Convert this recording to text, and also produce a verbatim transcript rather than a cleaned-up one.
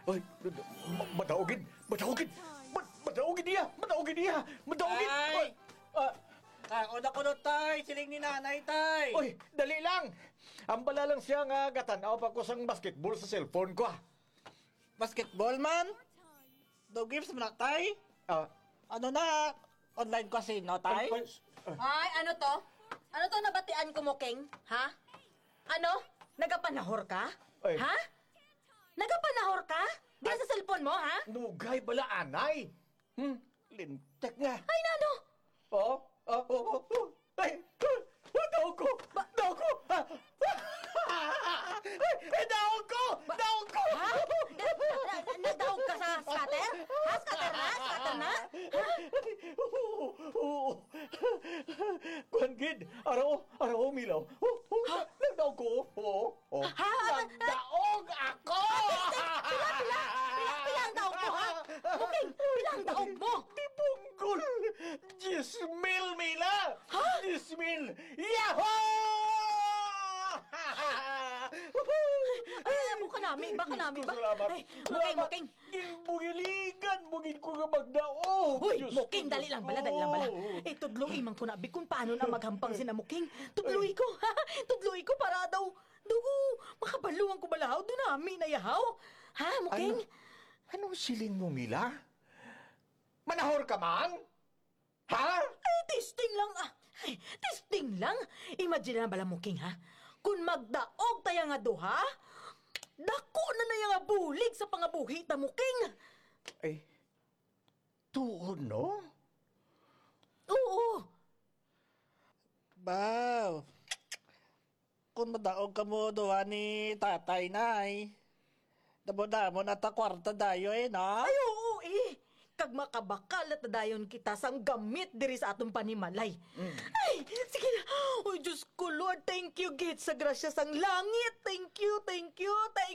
Ay, ma- madaugin! Madaugin! Ma- madaugin niya! Madaugin niya! Madaugin! Ay! Ay! Ah, Kaon ako no, tay. Siling ni nanay, tay. Oy, dali lang. Ambala lang siya nga gatan-aw pa ko sang basketball sa cellphone ko, ah. Basketball man? Daw games man na, tay? Ah. Ano na? Online casino, tay? Ay, ay, ah. Ay, ano to? Ano to nabatian ko mo, King? Ha? Ano? Nagapanahor ka? Ay. Ha? Nagapanahor ka? Diya sa cellphone mo, ha? Nugay bala, anay. Hmm, lintik nga. Ay, nano? Oh, oh, oh, oh, oh. Ay, ah, daog ko! Ba- Daog ko! Ah! Ay, ay, daog ko! Ba- Daog ko! Ha? Na, na, na, nadaog ka sa scatter? Ha? Scatter na? Scatter na? Ha? Oo, oo. Kuwan gid, araw, araw, milaw. Oh, oh, Ha? Nagdaog ko. Oo, oh. Ha? Nagdaog ako! Pila, pila? Pila, pila ang daog mo, ha? Muking, pila ang daog mo? Di punggol! Diyes mil, Mila! Ha? Diyes mil! Yahoo! Ay, ay, ay, baka nami, baka nami, Diyos ko, ba? Salamat. Ay, Muking, Salamat. Muking. Ginbugiligan mo gid ko nga magdaog. Hoy, Diyos ko, Muking, dali Diyos lang bala, ko. Dali lang bala. Eh, tudloi man ko na, bi, kung paano na maghampang sina Muking. Tudloi Ay. ko, ha? Tudloi ko para daw, daw, makabaluan ko bala, haw, dunami na yahaw. Ha, Muking? Ano? Anong siling mo, Mila? Manahor ka man? Ha? Ay, testing lang, ah. Ay, testing lang. Imagine na bala, Muking, ha? Kung magdaog taya nga duha, dako na na ya nga bulig sa pangabuhi ta, Muking. Ay, tuod, no? Oo. Baw. Kung madaog kamo duha ni tatay, nay, damo-damo na ta kwarta dayon, eh, no? Ay, oo, eh. Kag makabakal na ta dayon kita sang gamit diri sa aton panimalay. Mm. Ay, sige na. Oy, Diyos ko, Lord, thank you, gid, sa grasya sang langit. Thank you, thank you, thank